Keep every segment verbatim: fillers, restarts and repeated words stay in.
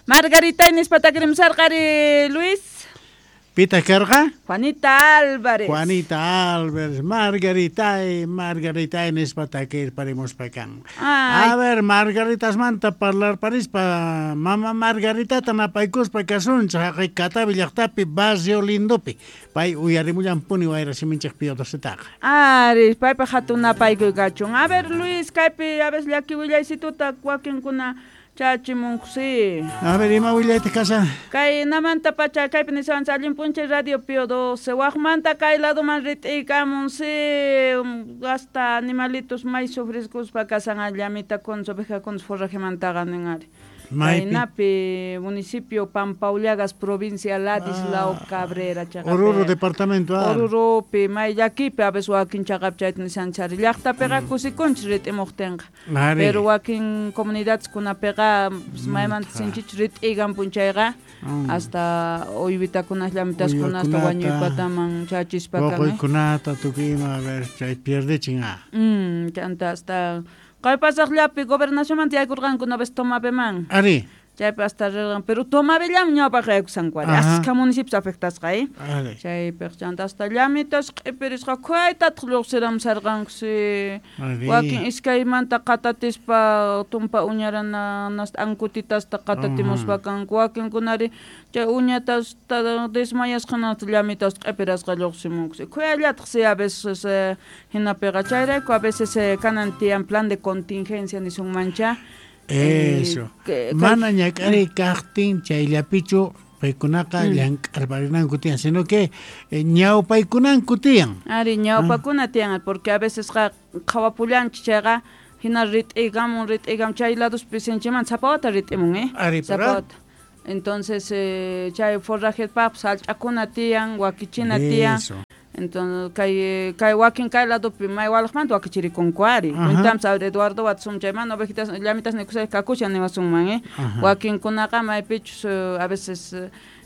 Margarita nispa takirimsarqari, Luis. Pita karqa? Juanita Álvarez. Juanita Álvarez, Margarita, Margarita nispa takirparimuspa kan. A ver, Margaritasmanta parlarparispa, mama Margaritata napaykuspa kasunchik haqay Catavi llaqtapi Barrio Lindopi. Pay uyarimullanpuni wayra siminchik Pío Docetaqa. Ari, paypa hatun napaykuy kachun. A ver, Luis, kaypi a veces llaki willaysituta wakinkuna chachimunkusi. A ver, ima willayta kashan? Kay namanta pacha kaypi niswanchik allin p'unchay Radio Pío doce. Waqmanta kay ladoman rit'iykamunsi, hasta animalitos may sufriskuspa kasan llamitakunas ovejakunas forrajemantaqa nin ari. Kaynapi municipio Pampaullagas, provincia Ladislao ah, Cabrera chaqapi. Oruro departamento. Ah. Oruropi may llakipi a veces wakin chaqapi chayta nisanchari. Llaqtapiqa mm. kusikunchik rit'imuqtinqa. Pero wakin comunidadeskunapiqa mm. maymanta sinchichu rit'igan p'unchayqa mm. hasta uywitakunas llamitaskunas hasta wañuypataman chachispa kan. Waquykunata tukuy ima a ver chay pierdichin ah. Mm, chanta hasta kay pasaqllapi gobernacionmanta yaykurqanku una vez Tomabeman. Ari. Chaypi hasta rirqan, pero Tomabellam ñawpaq yaykusanku ari. Askha municipios afectasqa, eh? Chaypiq chanta hasta llamitas q'ipirisqa khuyaytataq lluqsiramsarqankusi. Wakin iskaymanta qatatispa tumpa uñarana ankutitasta qatatimuspa kanku. Wakinkunari chay uñatas desmayasqanata llamitas q'ipirasqa lluqsimunkusi. Khuyallataq si a veces hinapiqa chayrayku a veces kanan tiyan plan de contingencia nisunmancha. Eso. Eh, mana ñak'ariy kaqtin chayllapichu paykunaqa mm. llank'arparinanku tiyan, sino que eh, ñawpaykunanku tiyan. Ari, ñawpakuna tiyan, porque a veces qa qhawapullanchik chayqa hina rit'igamun rit'igamun chay ladospi sinchiman sapa wata rit'imun, eh? Ari, sapa wata. Entonces eh, chay forrajepaqpas hallch'akuna tiyan, wakichina tiyan. Entonces kay kay wakin kay ladopi may walaqmanta wakichirikunku ari. Cuentam saber Eduardo Watson chayman ovejitas llamitas nikusay kakushan niwasunman, eh? Wakinkunaqa maypichus a veces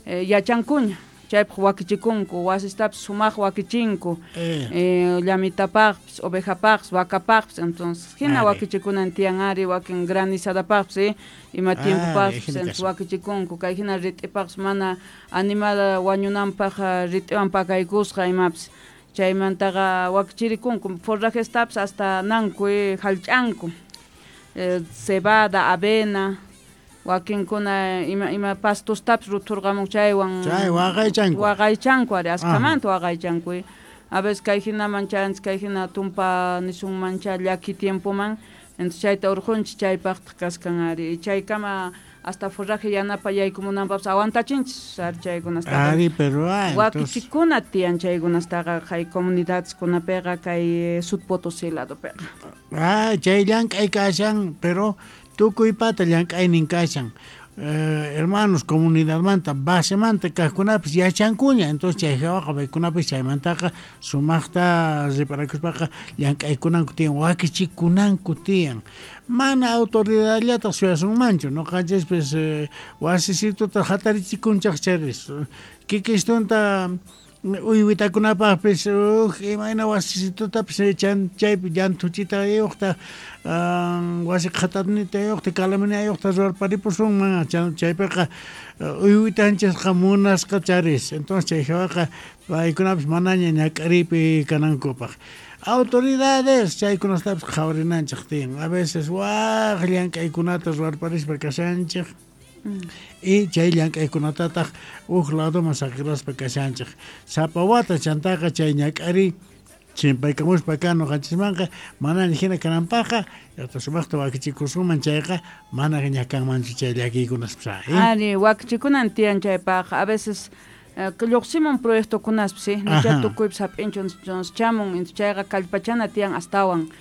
eh, yachankuña chaypaq wakichikunku wasistapis sumaq wakichinku eh. Eh, llamitapaqpis ovejapaqpis vakapaqpis. Entonces hina wakichikunan tiyan ari wakin granizadapaqpis eh? Ima tiempopaqpis entonces wakichikunku kay hina rit'ipaqpis mana animal wañunanpaq rit'iwan pakaykusqa imapis chaymantaqa wakichirikunku forrajestapis hasta nanku eh, hallch'anku eh, cebada, avena wakinkuna ima ima pastostapis ruthurqamun chaywan chay waqaychanku waqaychanku ari askhamanta waqaychanku. A veces kay hinaman chayanchik kay hina tumpa nisunmancha llaki tiempoman entonces chayta urqunchik chaypaqtaq kaskan ari chaykama hasta forraje yanapa yaykumunanpaqpas aguantachinchis ari chaykunastaqa. Ari, pero ah, wakichikuna tiyan chaykunastaqa kay comunidadeskunapiqa kay Sud Potosí ladopiqa. Ah, chay llank'ay kashan, pero tukuypata llank'aynin kashan. Eh, hermanos comunidadmanta basemanta kaqkunapis yachankuña, entonces chay hawaqa paykunapis chaymantaqa sumaqta riparakuspaqa llank'aykunanku tiyan, wakichikunanku tiyan. Mana autoridadllataq suyasunmanchu, ñuqanchispis eh, wasisituta hatarichikunchaq chayris kikistunta uywitakunapaqpis uj imayna wasisitutapis chan chaypi llanthuchitayuqta wasi qhatanitayuqta kalaminayuqta ruwarparipusunman chaypiqa uywitanchikqa munasqa charis. Entonces chay hawaqa paykunapis manaña ñak'ariypi kanankupaq. Autoridades chaykunastapis qhawarinanchik tiyan. A veces waq llank'aykunata ruwarparispa kashanchik. Mm. Y chay llank'aykunatataq uj ladoman saqiraspa kashanchik. Sapa wata chantaqa chay ñak'ariy chimpaykamuspa kan ñuqanchismanqa manaña hina kananpaqqa sumaqta wakichikusunman chayqa mana ñakanmanchu chay llakiykunaspis. Ari, wakichikunan tiyan chaypaqqa. A veces lluqsimun proyectokunaspis, eh? Nicha tukuypis hap'inchu chamun, chayqa kallpachana tiyan astawan.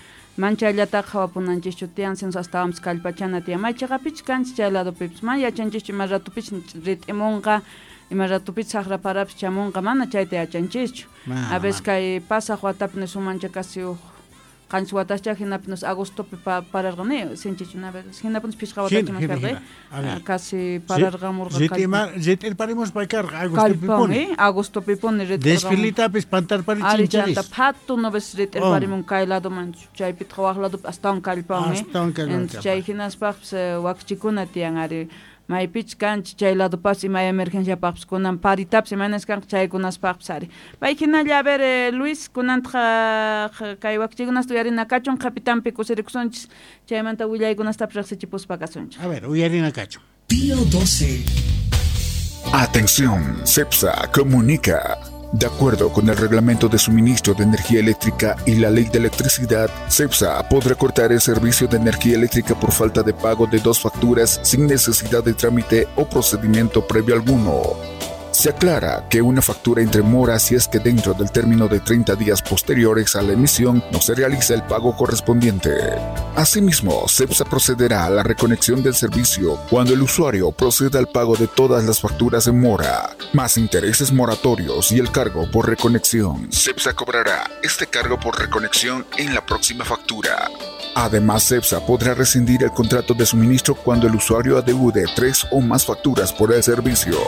Manchayllataqa qhawapunanchischu tiyan, sino astawanpis kallpachana tiyan. May chiqapich kanchis chay ladopipis, mana yachanchischu ima ratupich rit'imunqa, ima ratupich saqra parapis chamunqa, mana chayta yachanchischu. A veces kay pasaq watapi nisunmancha casi uj qanchis watascha hinapi nos agostopi pararqani sinchichu hinapi pichqa watacha karqa casi pararqamurqa rit'irparimuspa karqa agostopipuni agostopipuni desfilitapis pantarparichincharis chanta phatu no ves rit'irparimun kay ladoman chaypitaq waq ladopi astawan kallpawan chay hinaspaqpis wakichikuna tiyan ari maypich kanchik chay ladopas ima emergenciapaqpis kunan paritapis imaynas kanqa chaykunaspaqpis ari pay hinalla a ver eh, Luis kunantaq kay wakichikunasta uyarina kachun qhapitanpi kusirikusunchis chaymanta willaykunastapis riqsichipuspa kasunchik. A ver, uyarina kachun. Pío doce. Atención, CEPSA comunica. De acuerdo con el Reglamento de Suministro de Energía Eléctrica y la Ley de Electricidad, CEPSA podrá cortar el servicio de energía eléctrica por falta de pago de dos facturas sin necesidad de trámite o procedimiento previo alguno. Se aclara que una factura entre mora si es que dentro del término de treinta días posteriores a la emisión no se realiza el pago correspondiente. Asimismo, CEPSA procederá a la reconexión del servicio cuando el usuario proceda al pago de todas las facturas en mora, más intereses moratorios y el cargo por reconexión. CEPSA cobrará este cargo por reconexión en la próxima factura. Además, CEPSA podrá rescindir el contrato de suministro cuando el usuario adeude tres o más facturas por el servicio.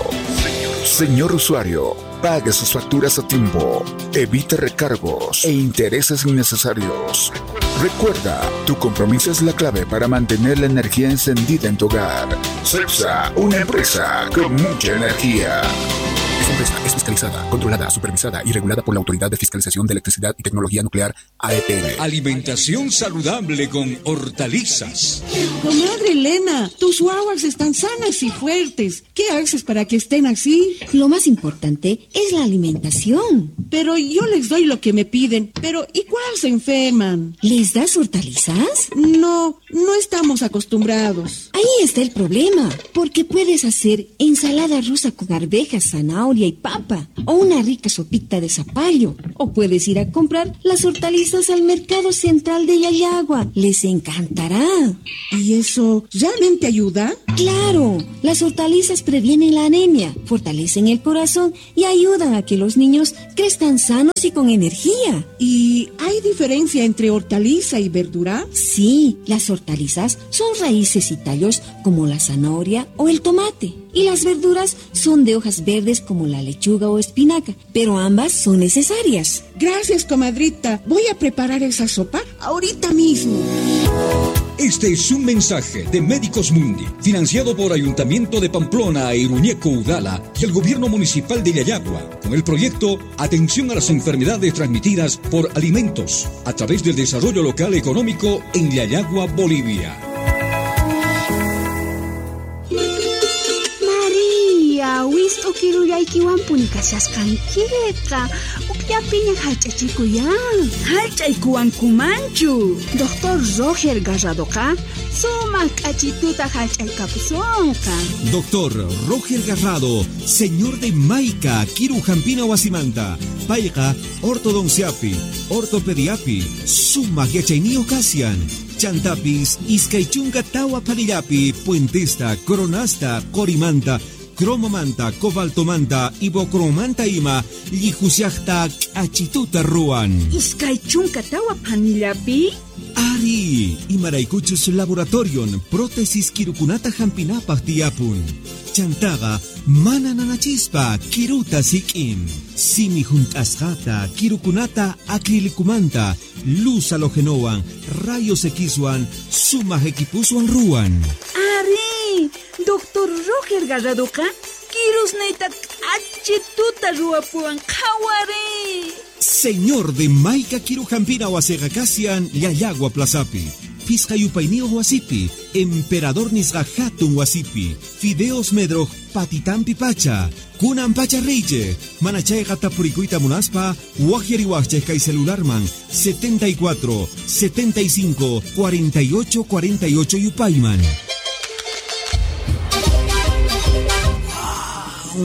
Señor usuario, pague sus facturas a tiempo, evite recargos e intereses innecesarios. Recuerda, tu compromiso es la clave para mantener la energía encendida en tu hogar. CEPSA, una empresa con mucha energía. Esta empresa es fiscalizada, controlada, supervisada y regulada por la Autoridad de Fiscalización de Electricidad y Tecnología Nuclear, A E T N. Alimentación saludable con hortalizas. Comadre Elena, tus guaguas están sanas y fuertes. ¿Qué haces para que estén así? Lo más importante es la alimentación. Pero yo les doy lo que me piden. Pero igual se enferman. ¿Les das hortalizas? No, no estamos acostumbrados. Ahí está el problema, porque puedes hacer ensalada rusa con arvejas, zanahoria y papa, o una rica sopita de zapallo, o puedes ir a comprar las hortalizas al mercado central de Llallagua. Les encantará. ¿Y eso realmente ayuda? ¡Claro! Las hortalizas previenen la anemia, fortalecen el corazón y ayudan a que los niños crezcan sanos y con energía. ¿Y hay diferencia entre hortaliza y verdura? Sí, las hortalizas son raíces y tallos como la zanahoria o el tomate. Y las verduras son de hojas verdes como la lechuga o espinaca, pero ambas son necesarias. Gracias, comadrita. Voy a preparar esa sopa ahorita mismo. Este es un mensaje de Médicos Mundi, financiado por Ayuntamiento de Pamplona e Iruñeco Udala y el Gobierno Municipal de Llallagua, con el proyecto Atención a las Enfermedades Transmitidas por Alimentos, a través del Desarrollo Local Económico en Llallagua, Bolivia. Wist'ukirullaykiwanpuni kashasqankiqa ukllapiña hallch'achikuyan. Hallch'aykuwankumanchu. Doctor Roger Garradoqa sumaq k'achituta hallch'aykapusunqa. Doctor Roger Garrado, señor de Maica, Kirujampina wasimanta, payqa ortodonciapi, ortopediapi, sumaq yachayniyuq kasian. Chantapis, iskay chunka tawa phanillapi, puentesta, coronasta, qorimanta, cromomanta, cobaltomanta, ibocromanta ima, llihusiaqta k'achituta ruwan. Iskay chunka tawa phanillapi? Ari, imaraykuchus laboratorion, prótesis kirukunata hampinapaq tiyapun. Chantaqa mana nanachispa kiruta sik'in. Simi hunt'asqata, kirukunata acrilicumanta, luz halogenowan, rayos Xwan, sumaq equipuswan ruwan. Ari, Doctor Roger Garradoqa kirusniyta k'achituta ruwapuwan qhawari. Señor de Maica Kirujampina wasiqa kasian Llallagua Plazapi. Pisqa yupayniyuq wasipi, Emperador nisqa hatun wasipi, Fideos Medroj patitampi pacha, kunan pacha reyche, manachayqa tapurikuyta munaspa, waqyariwaqchik kay celularman setenta y cuatro, setenta y cinco, cuarenta y ocho, cuarenta y ocho yupayman.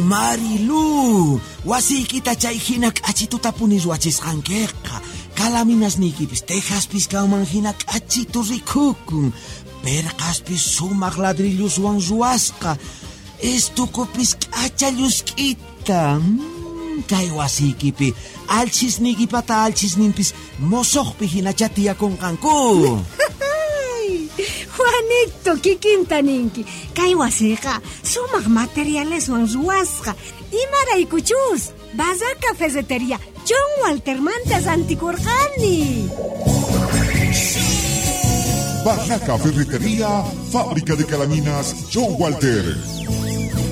Marilu, wasiykita chay hina k'achituta puni ruwachisqankiqa. Kalaminasniykipis tejaspis kanman hina k'achitu rikukun. Perqaspis sumaq ladrilluswan ruwasqa. Estukupis k'acha llusk'ita. Mm, kay wasiykipi alchisniykipata alchisninpis mosoqpi hinacha tiyakunqanku. Juanito, kikinta ninki. Kay wasiqa sumaq materialeswan ruwasqa. Imaraykuchus, Bazaca Ferretería, John Walter manta rantikurqani. Barraca Ferretería, fábrica de calaminas John Walter.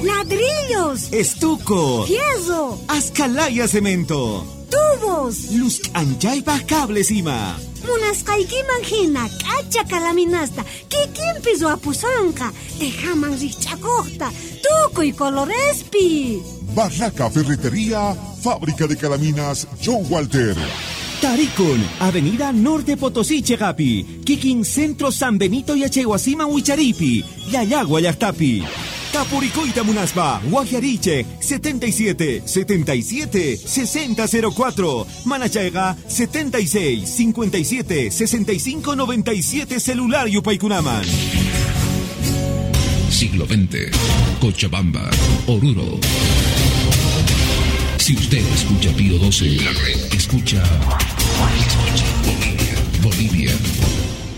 Ladrillos, estuco, fierro, ascalaya cemento, tubos, luz anchaypa cables ima. Munasqaykiman hina k'acha kalaminasta kikinpi ruwapusunqa, tejaman rikch'akuqta, tukuy colorespi. Barraca Ferretería, fábrica de calaminas John Walter. Tarikun, Avenida Norte Potosí Chegapi, Kikin Centro San Benito Yachaywasiman Wicharipi, Llallagua llaqtapi. Tapuricoita Munaspa, Guajariche, setenta y siete, setenta y siete, sesenta cero cuatro, Manachayga, setenta y seis, cincuenta y siete, sesenta y cinco, noventa y siete, celular Yupaykunaman. Siglo veinte, Cochabamba, Oruro. Si usted escucha Pío doce, la red escucha, escucha Bolivia, Bolivia.